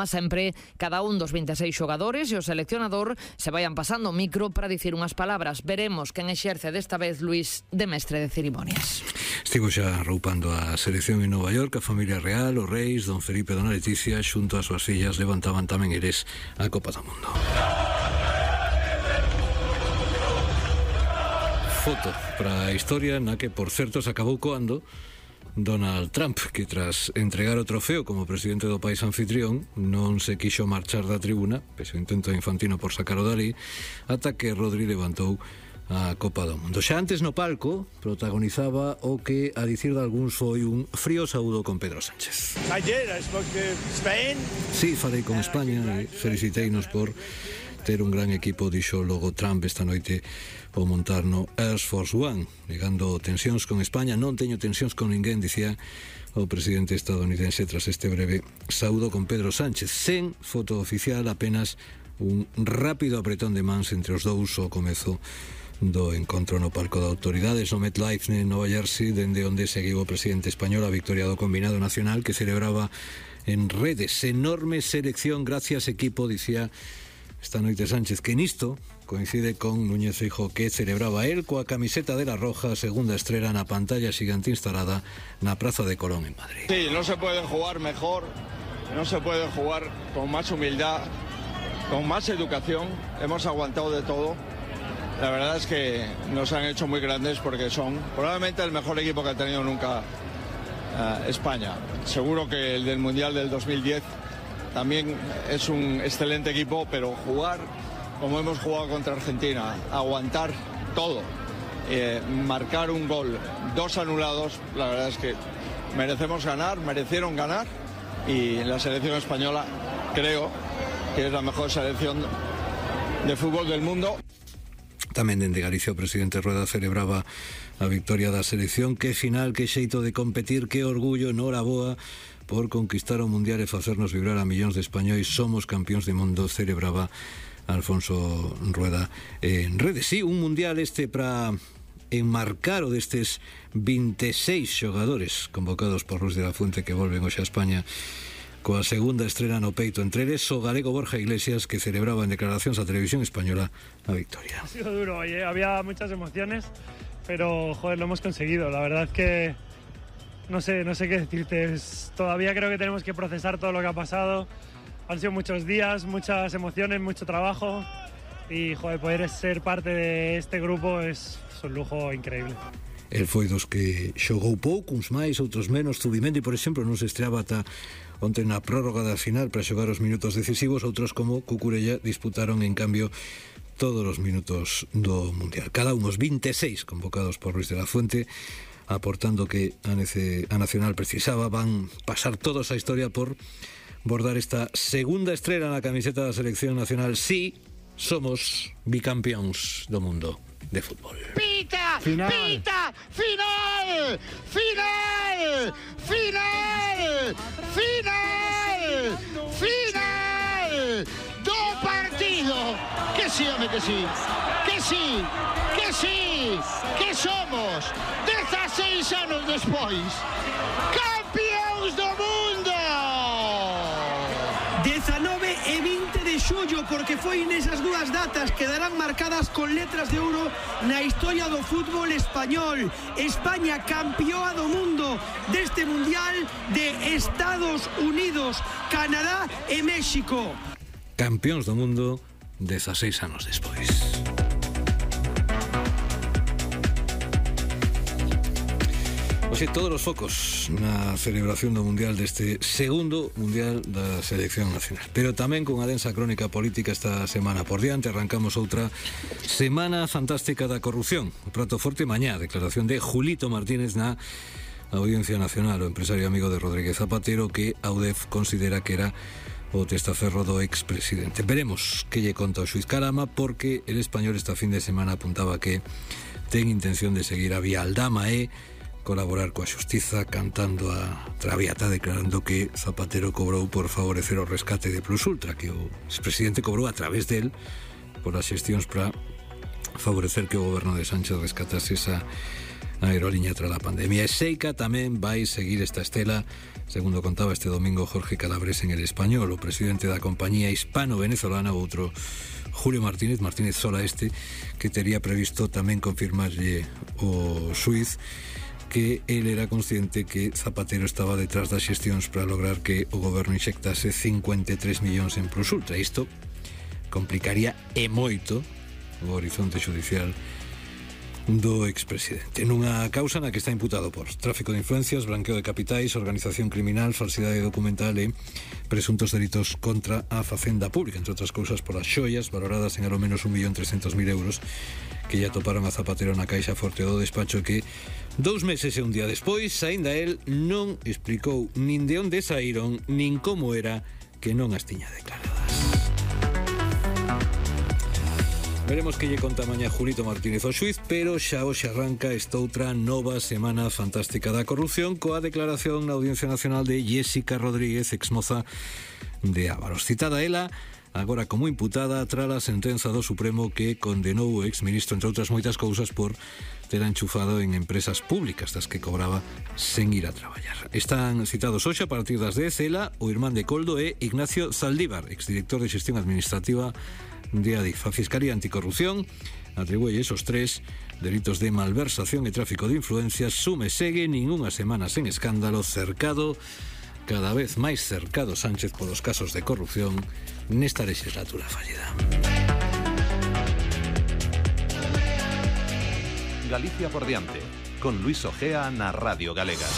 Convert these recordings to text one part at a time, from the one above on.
Sempre cada un dos 26 xogadores e o seleccionador se vayan pasando o micro para dicir unhas palabras. Veremos quen exerce desta vez Luis de mestre de cerimonias. Estivo xa roupando a selección en Nova York, a familia real, os reis, don Felipe e dona Leticia, xunto ás súas fillas, levantaban tamén eles a Copa do Mundo. Foto para a historia na que, por certo, se acabou coando Donald Trump, que tras entregar o trofeo como presidente do país anfitrión non se quixo marchar da tribuna, pese o intento de Infantino por sacaro dali, ata que Rodri levantou a Copa do Mundo. Xa antes no palco protagonizaba o que, a dicir de algúns, foi un frío saúdo con Pedro Sánchez. I spoke to Spain. Sí, falei con España e feliciteinos por ter un gran equipo, dixo logo Trump esta noite ao montar no Air Force One, negando tensións con España. Non teño tensións con ninguén, dicía o presidente estadounidense tras este breve saúdo con Pedro Sánchez. Sen foto oficial, apenas un rápido apretón de mans entre os dous ao comezo do encontro no palco de autoridades no MetLife en Nova Jersey, dende onde seguiu o presidente español a victoria do combinado nacional que celebraba en redes. Enorme selección, gracias equipo, dicía esta noite Sánchez, que nisto coincide con Núñez Feijóo, que celebraba él coa camiseta de la Roja, segunda estrela na pantalla xigante instalada na Praza de Colón en Madrid. Sí, no se puede jugar mejor, no se puede jugar con más humildad, con más educación. Hemos aguantado de todo. La verdad es que nos han hecho muy grandes porque son probablemente el mejor equipo que ha tenido nunca España. Seguro que el del Mundial del 2010 también es un excelente equipo, pero jugar como hemos jugado contra Argentina, aguantar todo, marcar un gol, 2 anulados, la verdad es que merecieron ganar, y la selección española creo que es la mejor selección de fútbol del mundo. Tamén dende Galicia o presidente Rueda celebraba a victoria da selección. Que final, que xeito de competir, que orgullo, noraboa por conquistar o Mundial e facernos vibrar a millóns de españois. Somos campións de mundo, celebraba Alfonso Rueda en redes. Sí, un Mundial este para enmarcar o destes 26 xogadores convocados por Luis de la Fuente, que volven hoxe a España coa segunda estrela no peito, entre eles o galego Borja Iglesias, que celebraba en declaracións a Televisión Española a victoria. Ha sido duro, oye, había muchas emociones, pero joder, lo hemos conseguido. La verdad que no sé qué decirte. Todavía creo que tenemos que procesar todo lo que ha pasado. Han sido muchos días, muchas emociones, mucho trabajo, y joder, poder ser parte de este grupo es un lujo increíble. El foi dos que xogou pouco, uns máis, outros menos. Zubimendi, por exemplo, non se estreaba ata onte na prórroga da final para xogar os minutos decisivos. Outros, como Cucurella, disputaron en cambio todos os minutos do Mundial. Cada un os 26 convocados por Luis de la Fuente, aportando que a Nacional precisaba. Van pasar todos a historia por bordar esta segunda estrela na camiseta da selección nacional. Sí, somos bicampións do mundo de fútbol. Pita! Final. Pita! Final! Final! Final! Final! Final! Do partido! Que sí, home, que sí! Que sí! Que sí! Que somos 16 anos despois campións do mundo! 19 e 20 de xullo, porque foi nesas dúas datas que darán marcadas con letras de ouro na historia do fútbol español. España campeoa do mundo deste Mundial de Estados Unidos, Canadá e México. Campións do mundo 16 anos despois. Oxe, todos os focos na celebración do Mundial deste segundo Mundial da Selección Nacional, pero tamén con a densa crónica política esta semana por diante. Arrancamos outra semana fantástica da corrupción. O prato forte mañá, declaración de Julito Martínez na Audiencia Nacional, o empresario amigo de Rodríguez Zapatero, que a UDEF considera que era o testaferro do expresidente. Veremos que lle conta o xuiz Carama, porque el Español esta fin de semana apuntaba que ten intención de seguir a vía Aldama e colaborar coa xustiza, cantando a Traviata, declarando que Zapatero cobrou por favorecer o rescate de Plus Ultra, que o expresidente cobrou a través del por as xestións para favorecer que o goberno de Sánchez rescatase esa aerolínea tras a pandemia. E Seica tamén vai seguir esta estela segundo contaba este domingo Jorge Calabres en El Español, o presidente da compañía hispano-venezolana, outro Julio Martínez Sola que tería previsto tamén confirmarlle o xuiz que él era consciente que Zapatero estaba detrás das xestións para lograr que o goberno inxectase 53 millóns en Plus Ultra. Isto complicaría e moito o horizonte judicial do expresidente. Nunha causa na que está imputado por tráfico de influencias, blanqueo de capitais, organización criminal, falsidade documental e presuntos delitos contra a facenda pública, entre outras cousas por as xoias valoradas en ao menos 1.300.000 euros que ya toparon a Zapatero na caixa forte do despacho, que 2 meses e un día despois aínda el non explicou nin de onde saíron nin como era que non as tiña declaradas. Veremos que lle conta mañá Julito Martínez o xuiz, pero xa hoxe arranca esta outra nova semana fantástica da corrupción coa declaración na Audiencia Nacional de Jéssica Rodríguez, exmoza de Ávaros. Citada ela agora como imputada tras a sentenza do Supremo que condenou o exministro, entre outras moitas cousas, por ter enchufado en empresas públicas das que cobraba sen ir a traballar. Están citados hoxe a partir das 10 ela, o irmán de Coldo e Ignacio Zaldívar, exdirector de Xestión Administrativa de Adif. A Fiscalía Anticorrupción atribúe esos 3 delitos de malversación e tráfico de influencias. Sume segue nin unha semana sen escándalo, cercado, cada vez máis cercado Sánchez polos casos de corrupción nesta legislatura fallida. Galicia por diante, con Luis Ojea na Radio Galega.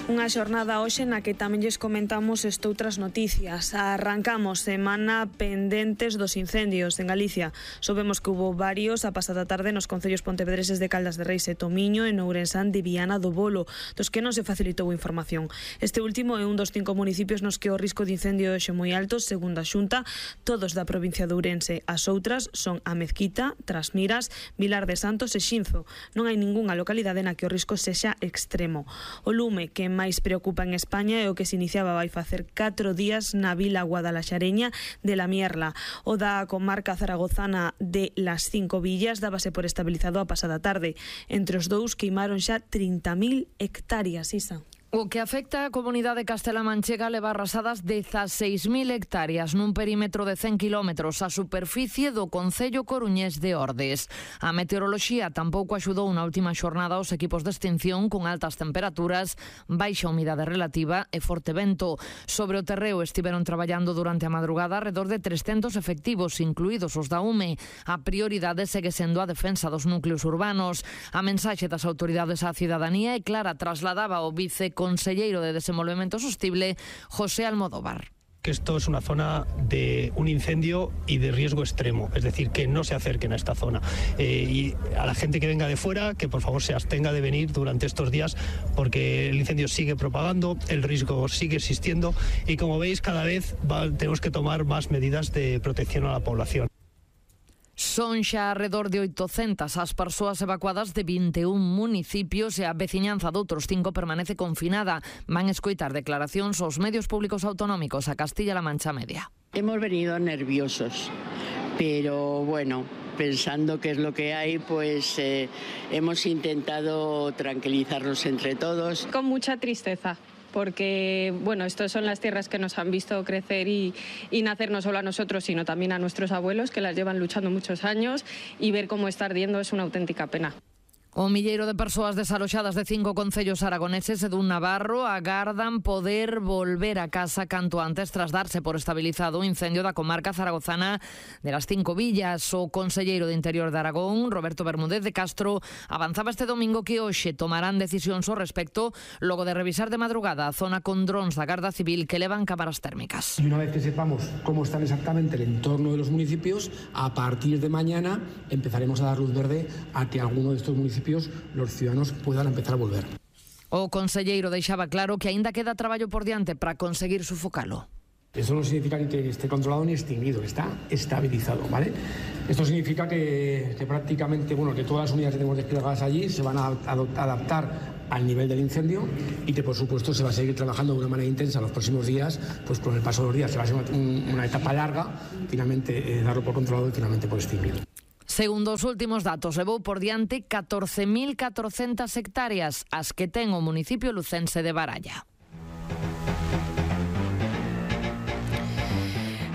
Unha xornada hoxe na que tamén lles comentamos estoutras noticias. Arrancamos semana pendentes dos incendios en Galicia. Sabemos que hubo varios a pasada tarde nos concellos pontevedreses de Caldas de Reis e Tomiño, en Ourensán de Viana do Bolo, dos que non se facilitou información. Este último é un dos 5 municipios nos que o risco de incendio é moi alto, segundo a Xunta, todos da provincia de Ourense. As outras son a Mezquita, Trasmiras, Vilar de Santos e Xinzo. Non hai ningunha localidade na que o risco sexa extremo. O lume que máis preocupa en España é o que se iniciaba vai facer 4 días na vila guadalaxareña de La Mierla. O da comarca zaragozana de Las Cinco Villas dábase por estabilizado a pasada tarde. Entre os dous queimaron xa 30.000 hectáreas, Isa. O que afecta a comunidade castela-manchega leva arrasadas 16.000 hectáreas nun perímetro de 100 kilómetros a superficie do concello coruñés de Ordes. A meteoroloxía tampouco axudou na última xornada aos equipos de extinción con altas temperaturas, baixa humidade relativa e forte vento. Sobre o terreo estiveron traballando durante a madrugada alrededor de 300 efectivos, incluídos os da UME. A prioridade segue sendo a defensa dos núcleos urbanos. A mensaxe das autoridades á cidadanía é clara, trasladaba o viceconselleiro de Desenvolvemento Sostible, José Almodóvar. Que esto es una zona de un incendio y de riesgo extremo, es decir, que no se acerquen a esta zona. Y a la gente que venga de fuera, que por favor se abstenga de venir durante estos días, porque el incendio sigue propagando, el riesgo sigue existiendo y, como veis, cada vez tenemos que tomar más medidas de protección a la población. Son xa alrededor de 800 as persoas evacuadas de 21 municipios e a veciñanza de outros 5 permanece confinada. Van escoitar declaracións aos medios públicos autonómicos a Castilla-La Mancha Media. Hemos venido nerviosos, pero bueno, pensando qué es lo que hay, pues hemos intentado tranquilizarnos entre todos. Con mucha tristeza. Porque, bueno, estas son las tierras que nos han visto crecer y nacer no solo a nosotros, sino también a nuestros abuelos, que las llevan luchando muchos años, y ver cómo está ardiendo es una auténtica pena. O milleiro de persoas desaloxadas de 5 concellos aragoneses e dun navarro agardan poder volver a casa canto antes tras darse por estabilizado o incendio da comarca zaragozana de Las Cinco Villas. O conselleiro de Interior de Aragón, Roberto Bermúdez de Castro, avanzaba este domingo que hoxe tomarán decisións ao respecto logo de revisar de madrugada a zona con drons da Garda Civil que levan cámaras térmicas. Y una vez que sepamos cómo están exactamente el entorno de los municipios, a partir de mañana empezaremos a dar luz verde a que alguno de estos municipios los ciudadanos puedan empezar a volver. O conselleiro deixaba claro que aínda queda traballo por diante para conseguir sufocalo. Eso no significa ni que esté controlado ni extinguido, está estabilizado, ¿vale? Esto significa que prácticamente, bueno, que todas las unidades que tenemos desplegadas allí se van a adaptar al nivel del incendio y que por supuesto se va a seguir trabajando de una manera intensa los próximos días, pues con el paso de los días se va a ser una etapa larga, finalmente darlo por controlado y finalmente por extinguir. Segundo os últimos datos, levou por diante 14.400 hectáreas as que ten o municipio lucense de Baralla.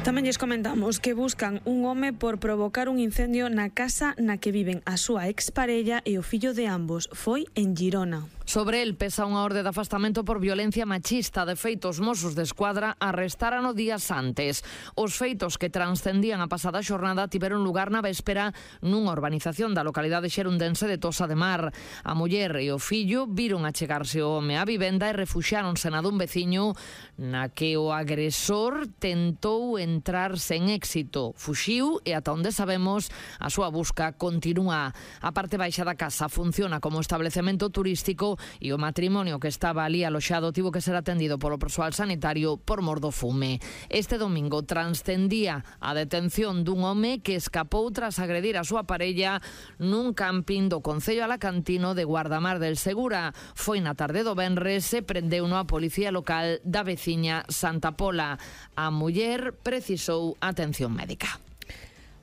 Tamén lles comentamos que buscan un home por provocar un incendio na casa na que viven a súa exparella e o fillo de ambos. Foi en Girona. Sobre el pesa unha orde de afastamento por violencia machista. De feito, os Mossos de Escuadra arrestaran días antes. Os feitos que transcendían a pasada xornada tiveron lugar na véspera nunha urbanización da localidade xerundense de Tosa de Mar. A muller e o fillo viron achegarse o home á vivenda e refuxiáronse na dun veciño na que o agresor tentou entrar sen éxito. Fuxiu e ata onde sabemos a súa busca continúa. A parte baixa da casa funciona como establecemento turístico e o matrimonio que estaba ali aloxado tivo que ser atendido polo persoal sanitario por mor do fume. Este domingo transcendía a detención dun home que escapou tras agredir a súa parella nun camping do concello alacantino de Guardamar del Segura. Foi na tarde do venres e prendeuno a policía local da veciña Santa Pola. A muller precisou atención médica.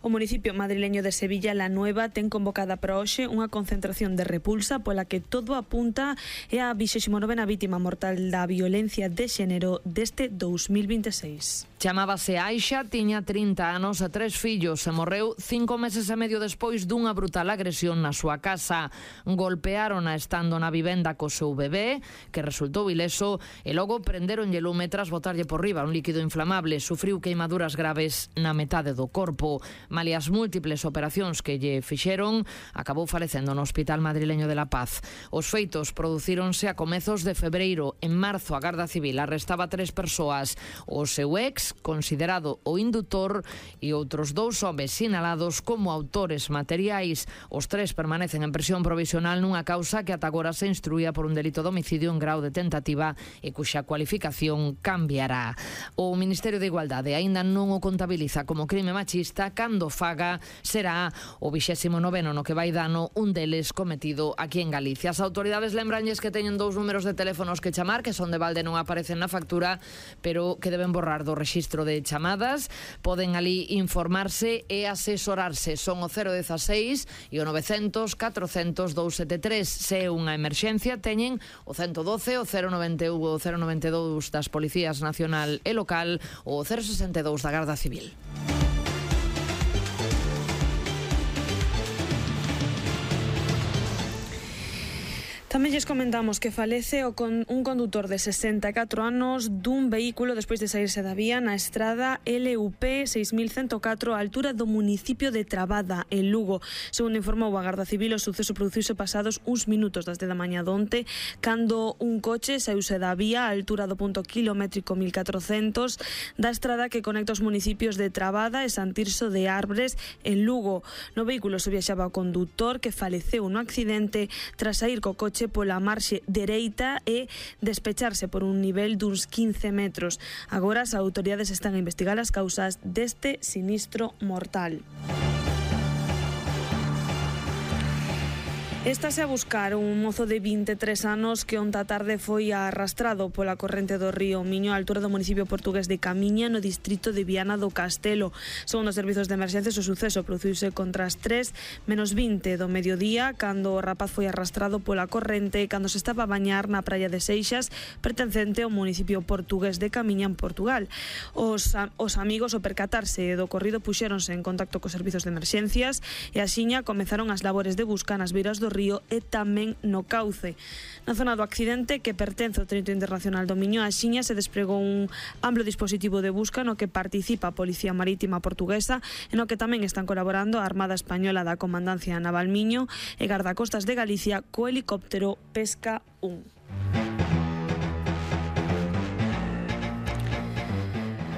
O municipio madrileño de Sevilla, La Nueva, ten convocada para hoxe unha concentración de repulsa pola que todo apunta é a 29ª vítima mortal da violencia de xénero deste 2026. Chamábase Aixa, tiña 30 anos e 3 fillos e morreu 5 meses e medio despois dunha brutal agresión na súa casa. Golpeárona estando na vivenda co seu bebé, que resultou ileso, e logo prenderonlle lume tras botarlle por riba un líquido inflamable. Sufriu queimaduras graves na metade do corpo. Malia as múltiples operacións que lle fixeron, acabou falecendo no Hospital Madrileño de La Paz. Os feitos producíronse a comezos de febreiro. En marzo, a Garda Civil arrestaba 3 persoas. O seu ex, considerado o indutor, e outros 2 homes sinalados como autores materiais. Os 3 permanecen en prisión provisional nunha causa que ata agora se instruía por un delito de homicidio en grau de tentativa e cuxa cualificación cambiará. O Ministerio de Igualdade aínda non o contabiliza como crime machista, cando faga será o 29º no que vai dano, un deles cometido aquí en Galicia. As autoridades lembranlles que teñen 2 números de teléfonos que chamar, que son de balde, non aparecen na factura, pero que deben borrar do rexistro de chamadas. Poden ali informarse e asesorarse. Son o 016 e o 900 400 273. Se é unha emerxencia, teñen o 112, o 091, o 092 das Policías Nacional e Local, ou o 062 da Garda Civil. Tamén lles comentamos que falece un condutor de 64 anos dun vehículo despois de saírse da vía na estrada LUP 6104 á altura do municipio de Trabada, en Lugo. Segundo informou a Garda Civil, o suceso produciuse pasados uns minutos das 10 da mañá donte, cando un coche saíuse da vía á altura do punto kilométrico 1400 da estrada que conecta os municipios de Trabada e Sant Tirso de Arbres, en Lugo. No vehículo se viaxaba o condutor, que faleceu no accidente tras saír co coche pola marxe dereita e despecharse por un nivel duns 15 metros. Agora as autoridades están a investigar as causas deste sinistro mortal. Estase a buscar un mozo de 23 anos que onta tarde foi arrastrado pola corrente do río Miño á altura do municipio portugués de Camiña, no distrito de Viana do Castelo. Segundo os servizos de emerxencias, o suceso produciuse contra as 3:20 do mediodía, cando o rapaz foi arrastrado pola corrente cando se estaba a bañar na praia de Seixas, pertencente ao municipio portugués de Camiña, en Portugal. Os amigos, ao percatarse do ocorrido, puxéronse en contacto cos servizos de emerxencias e axiña comezaron as labores de busca nas beiras do río e tamén no cauce. Na zona do accidente, que pertence ao Trito Internacional do Miño, axiña se despregou un amplo dispositivo de busca no que participa a Policía Marítima Portuguesa e no que tamén están colaborando a Armada Española da Comandancia Naval Miño e Gardacostas de Galicia co helicóptero Pesca 1.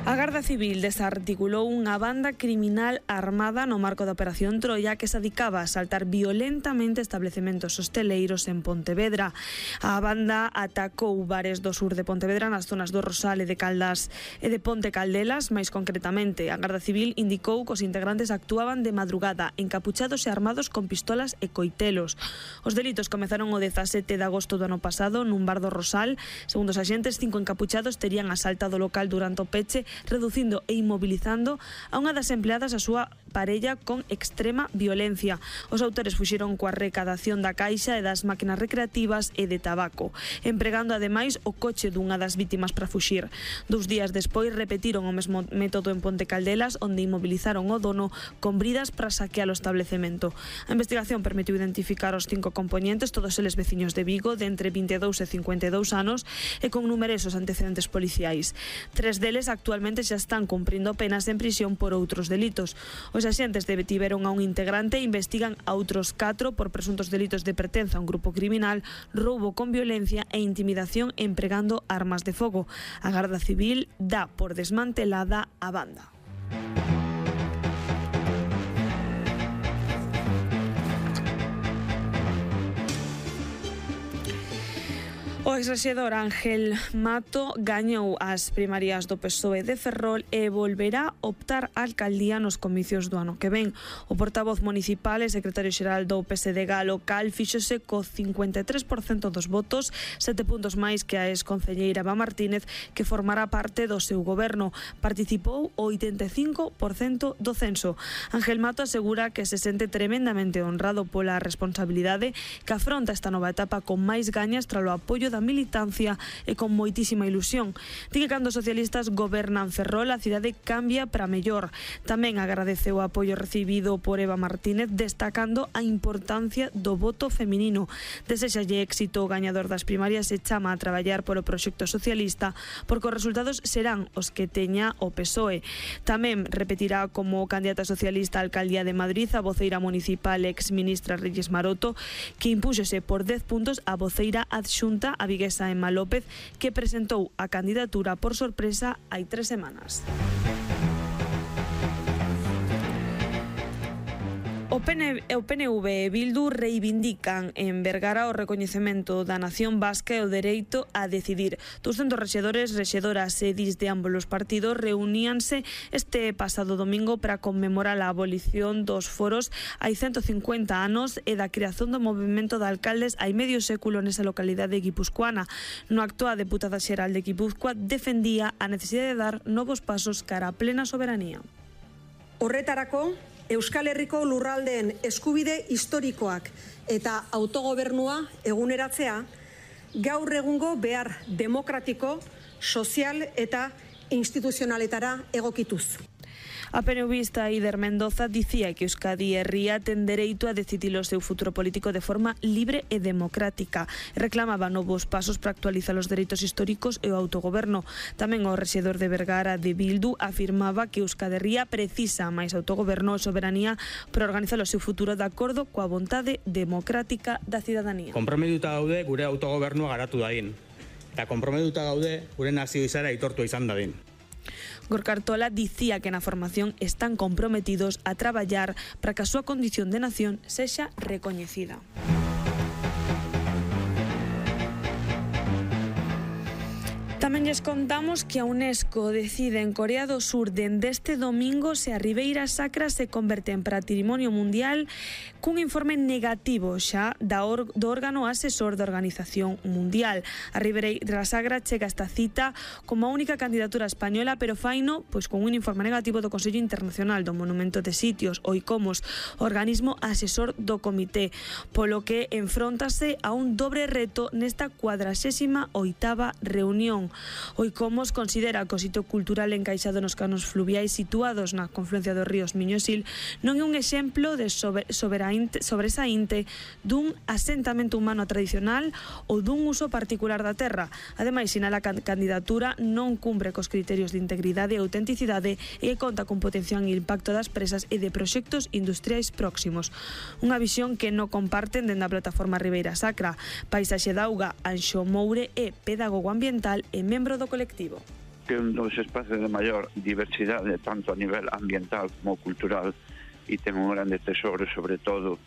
A A Garda Civil desarticulou unha banda criminal armada no marco da Operación Troia que se dedicaba a asaltar violentamente establecementos hosteleiros en Pontevedra. A banda atacou bares do sur de Pontevedra nas zonas do Rosal e de Caldas e de Ponte Caldelas. Mais concretamente, a Garda Civil indicou que os integrantes actuaban de madrugada, encapuchados e armados con pistolas e coitelos. Os delitos comezaron o 17 de agosto do ano pasado nun bar do Rosal. Segundo os axentes, 5 encapuchados terían asaltado o local durante o peche, reducindo e inmobilizando a unha das empleadas a súa parella con extrema violencia. Os autores fuxiron coa recadación da caixa e das máquinas recreativas e de tabaco, empregando ademais o coche dunha das vítimas para fuxir. 2 días despois repetiron o mesmo método en Ponte Caldelas, onde inmovilizaron o dono con bridas para saquear o establecemento. A investigación permitiu identificar os 5 componentes, todos eles veciños de Vigo, de entre 22 e 52 anos e con numerosos antecedentes policiais. 3 deles actualmente xa están cumprindo penas en prisión por outros delitos. Os axentes detiveron a un integrante e investigan a outros 4 por presuntos delitos de pertenza a un grupo criminal, roubo con violencia e intimidación empregando armas de fogo. A Garda Civil dá por desmantelada a banda. O exrexedor Ángel Mato gañou as primarias do PSOE de Ferrol e volverá optar á alcaldía nos comicios do ano que ven. O portavoz municipal e secretario xeral do PSDG local fíxose co 53% dos votos, 7 puntos máis que a exconcelleira Eva Martínez, que formará parte do seu goberno. Participou o 85% do censo. Ángel Mato asegura que se sente tremendamente honrado pola responsabilidade que afronta esta nova etapa con máis gañas tras o apoio da militancia e con moitísima ilusión. Di que cando os socialistas gobernan Ferrol, a cidade cambia para mellor. Tamén agradeceu o apoio recibido por Eva Martínez, destacando a importancia do voto feminino. Desexalle éxito o gañador das primarias e chama a traballar polo proxecto socialista, porque os resultados serán os que teña o PSOE. Tamén repetirá como candidata socialista á alcaldía de Madrid a voceira municipal exministra Reyes Maroto, que impúxose por 10 puntos a voceira adxunta a viguesa Emma López, que presentou a candidatura por sorpresa hai 3 semanas. O PNV e Bildu reivindican en Vergara o recoñecemento da nación vasca e o dereito a decidir. 200 rexedores, rexedoras e edís de ambos os partidos reuníanse este pasado domingo para conmemorar a abolición dos foros hai 150 anos e da creación do movimento de alcaldes hai medio século nesa localidade guipuzcoana. No acto, a deputada xeral de Guipúzcoa defendía a necesidade de dar novos pasos cara a plena soberanía. Horretarako, Euskal Herriko lurraldeen eskubide historikoak eta autogobernua eguneratzea gaur egungo behar demokratiko, sozial eta instituzionaletara egokituz. A PNVista Ider Mendoza dicía que Euskadi Herria ten dereito a decidir o seu futuro político de forma libre e democrática. Reclamaba novos pasos para actualizar os dereitos históricos e o autogoberno. Tamén o rexedor de Vergara de Bildu afirmaba que Euskadi Herria precisa máis autogoberno e soberanía para organizar o seu futuro de acordo coa vontade democrática da cidadanía. Konprometuta gaude gure autogobernua garatu dadin. Eta konprometuta gaude gure nazio izara aitortua izan dadin. Gorka Artola dicía que na formación están comprometidos a traballar para que a súa condición de nación sexa recoñecida. Tamén lles contamos que a UNESCO decide en Corea do Sur dende este domingo se a Ribeira Sacra se converte en patrimonio mundial cun informe negativo xa do órgano asesor da Organización Mundial. A Ribeira Sacra chega esta cita como a única candidatura española, pero faino pois con un informe negativo do Consello Internacional do Monumento de Sitios, o ICOMOS, organismo asesor do comité, polo que enfróntase a un dobre reto nesta 48ª reunión. O ICOMOS considera que o sitio cultural encaixado nos canos fluviais situados na confluencia dos ríos Miño e Sil non é un exemplo de sobresaínte dun asentamento humano tradicional ou dun uso particular da terra. Ademais, sinala que a candidatura non cumpre cos criterios de integridade e autenticidade e conta con potencial impacto das presas e de proxectos industriais próximos. Unha visión que non comparten dende a plataforma Ribeira Sacra. Paisaxe da Auga, Anxo Moure é pedagogo ambiental e membro do colectivo. que é un dos espacios de maior diversidade, tanto a nivel ambiental como cultural, e ten un grande tesoro, sobre todo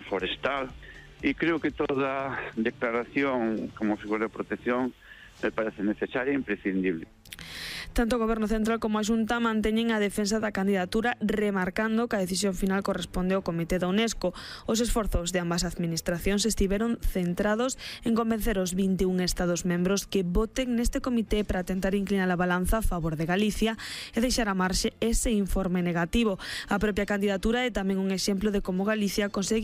forestal, e creo que toda declaración como figura de protección me parece necesaria e imprescindible. Tanto o Goberno Central como a Xunta manteñen a defensa da candidatura, remarcando que a decisión final corresponde ao Comité da UNESCO. Os esforzos de ambas administracións estiveron centrados en convencer os 21 Estados membros que voten neste comité para tentar inclinar a balanza a favor de Galicia e deixar a marxe ese informe negativo. A propia candidatura é tamén un exemplo de como Galicia consegue